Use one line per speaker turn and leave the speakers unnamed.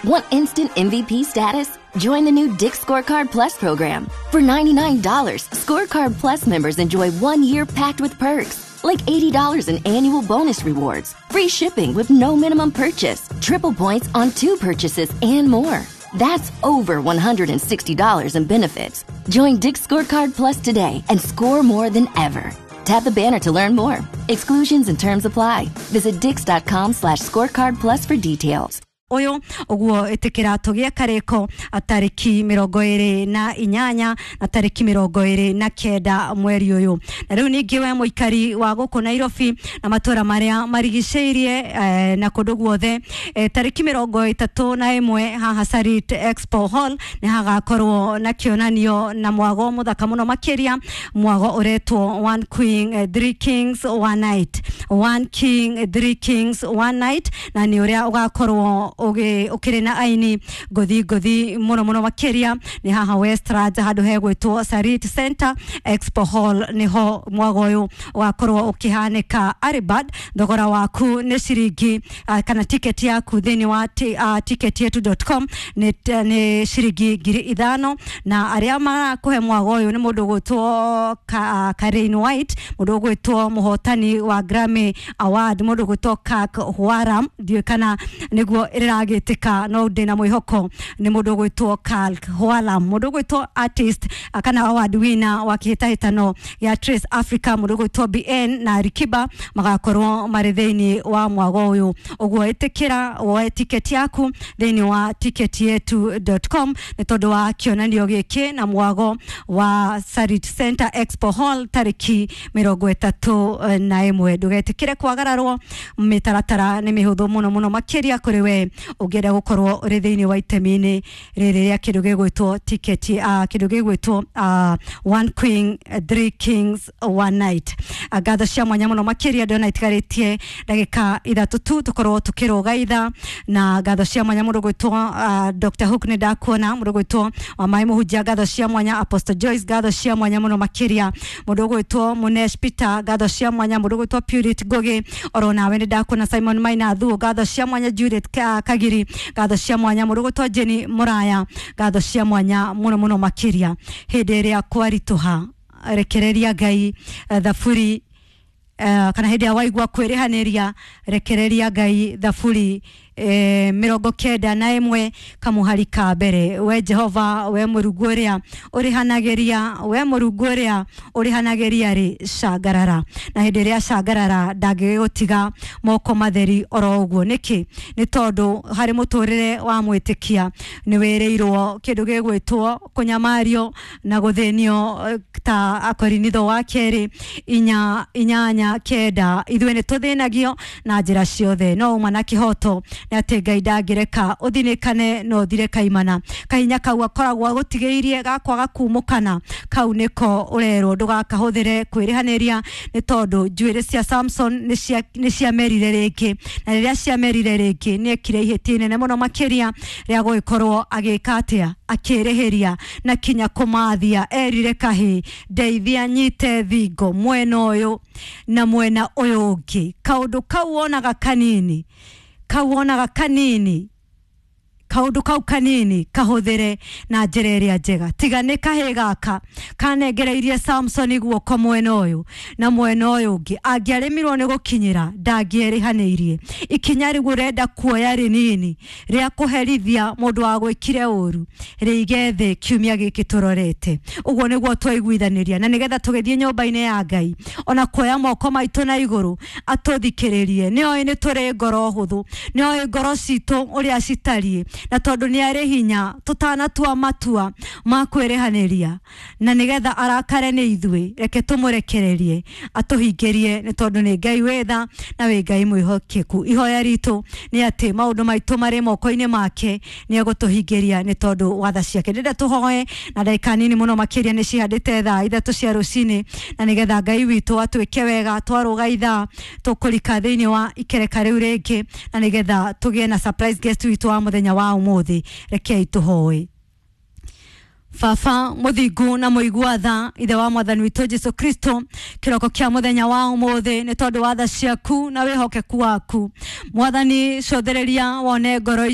Want instant MVP status? Join the new Dick's Scorecard Plus program. For $99, Scorecard Plus members enjoy 1 year packed with perks, like $80 in annual bonus rewards, free shipping with no minimum purchase, triple points on two purchases, and more. That's over $160 in benefits. Join Dick's Scorecard Plus today and score more than ever. Tap the banner to learn more. Exclusions and terms apply. Visit dix.com/scorecard plus for details.
Ũyũ ũguo ĩtĩkĩra tũgĩe karĩko tarĩki 28 na tarĩki 29 mweri ũyũ. Na rĩu ningĩ we mũikari wa gũkũ Nairobi na matũra marĩa marigicĩirie na kũndũ guothe, tarĩki 31 haha Sarit Expo Hall nĩ hagakorwo na kĩonanio na mwago mũthaka mũno makĩria, mwago ũretwo One Queen Three Kings One Night, One King Three Kings One Night, na nĩ ũrĩa ũgakorwo ũkĩrĩ na aini ngũthi ngũthi mũno mũno makĩria. Nĩ haha Westlands handũ hegwĩtwo Sarit Center Expo Hall nĩho mwago ũyũ ũgakorwo ũkĩhanĩka. Aribad thogora waku nĩ ciringi kana tiketi yaku thĩinĩ wa ticketyetu.com nĩ ciringi 5,000. Na arĩa marakũhe mwago ũyũ nĩ mũndũ ũgwĩtwo Karen White, mũndũ ũgwĩtwo mũhotani wa Grammy Award, mũndũ ũgwĩtwo Kirk Whalum, ndiũĩ kana nĩguo ĩragĩtĩka no ndĩna mwĩhoko nĩ mũndũ ũgwĩtwo Kirk Whalum, mũndũ ũgwĩtwo artist kana award winner wa kĩhĩtahĩtano gĩa Trace Africa, mũndũ ũgwĩtwo BN na Alikiba magakorwo marĩ thĩinĩ wa mwago ũyũ. Ũguo ĩtĩkĩra woe tiketi yaku thĩinĩ wa ticketyetu.com nĩ tondũ wa kĩonanio gĩkĩ na mwago wa Sarit Center Expo Hall tarĩki 31. Ndũgetĩkĩre kwagararwo, mĩtaratara nĩ mĩhũthũ mũno mũno makĩria kũrĩ we ũngĩenda gũkorwo ũrĩ thĩinĩ wa itemi-inĩ rĩrĩ rĩa kĩndũ gĩgwĩtwo tiketi kĩndũ gĩgwĩtwo One Queen Three Kings One Night. Ngatho cia mwanya mũno makĩria, ndĩrona itigarĩtie ndagĩka 3 tu tũkorwo tũkĩrũga ithaa, na ngatho cia mwanya mũndũ gwĩtwo Dr. Hook, nĩ ndakuona, mũndũ gwĩtwo Wamaĩ Mũhunjia, ngatho cia mwanya, Apostle Joyce, ngatho cia mwanya mũno makĩria, mũndũ gwĩtwo Munesh Peter, ngatho cia mwanya, mũndũ gwĩtwo Purity Ngugi, oro nawe nĩ ndakuona, Simon Maina Thuo, ngatho cia mwanya, Judith Kagiri, ngatho cia mwanya, mũndũ gwĩtwo Jenny Muraya, ngatho cia mwanya mũno mũno makĩria. Hĩndĩ ĩrĩa kwaritũha rekereria Ngai, thaburi kana hĩndĩ ĩrĩa waigua kwĩrĩhanĩria rekereria Ngai, thaburi 91 kamuhari ka mbere: "We Jehova, we Mũrungu ũrĩa ũrĩhanagĩria, we Mũrungu ũrĩa ũrĩhanagĩria rĩ, cangarara." Na hĩndĩ ĩrĩa cangarara ndangĩgũtiga moko matheri oro ũguo. Nĩkĩ? Nĩ tondũ harĩ mũtũrĩre wa mwĩtĩkia nĩ wĩrĩirwo kĩndũ gĩgwĩtwo kũnyamario na gũthĩnio, ta Akorinitho wa kerĩ 4:8 9, ithuĩ nĩ tũthĩnagio na njĩra ciothe, no uma na kĩhoto nĩ atĩ Ngai ndangĩreka ũthinĩkane no ũthire kaimana. Kahinya kau akoragwo agũtigĩirie gakwaga kumũkana kau nĩko ũrerwo ndũgakahũthĩre kwĩrĩhanĩria, nĩ tondũ njuĩrĩ cia Samson nĩ ciamerire rĩngĩ, na rĩrĩa ciamerire rĩngĩ nĩ ekire ihĩtia inene mũno makĩria rĩa gũgĩkorwo agĩka atĩa, akĩrĩhĩria na kinya kũmathia erire kahĩ, "Ndeithia nyite thingo mwena ũyũ na mwena ũyũ ũngĩ." Kaũndũ kau wonaga kanini, kau wonaga kanini, kaundu kau kanini kahũthĩre na njĩra ĩrĩa njega. Tiga nĩ kahĩ gaka kanengereirie Samson guoko mwena ũyũ na mwena ũyũ ũngĩ, angĩarĩmirwo nĩ gũkinyĩra ndangĩerĩhanĩirie. Ikinya rĩu ũrenda kuoya rĩnini rĩa kũherithia mũndũ wa gwĩkire ũru, rĩige thĩ kiumia gĩkĩ tũrorete. Ũguo nĩguo twaiguithanĩria, na nĩgetha tũgĩthiĩ nyũmba-inĩ ya Ngai ona kuoya moko maitũ na igũrũ atũthikĩrĩrie. Nĩ oĩ nĩ tũrĩ ngoro hũthũ, nĩ oĩ ngoro citũ ũrĩa citariĩ, na tondũ nĩ arĩ hinya tũtanatua matua ma kwĩrĩhanĩria na nĩgetha arakare nĩ ithuĩ, reke tũmũrekererie atũhingĩrie, nĩ tondũ nĩ Ngai wĩ tha na wĩ Ngai mwĩhokeku. Ihoya ritũ nĩ atĩ maũndũ maitũ marĩ moko-inĩ make, nĩ egũtũhingĩria nĩ tondũ wa tha ciake. Ndĩrenda tũhoe na ndagĩka nini mũno makĩria, nĩ cihandĩte thaa 3 cia rũcinĩ, na nĩgetha Ngai witũ atwĩke wega twarũga ithaa tũkũrika thĩinĩ wa ikereka rĩu rĩngĩ, na nĩgetha tũgĩe na surprise guest witũ wa mũthenya wa ũmũthĩ. Rekei tũhoe. Baba mũthingu na mũigua tha, ithe wa mwathani witũ Jesu Kristo, kĩroko kĩa mũthenya wa ũmũthĩ, nĩ tondũ wa tha ciaku na wĩhokeku waku, mwathani, cothereria wone ngoro.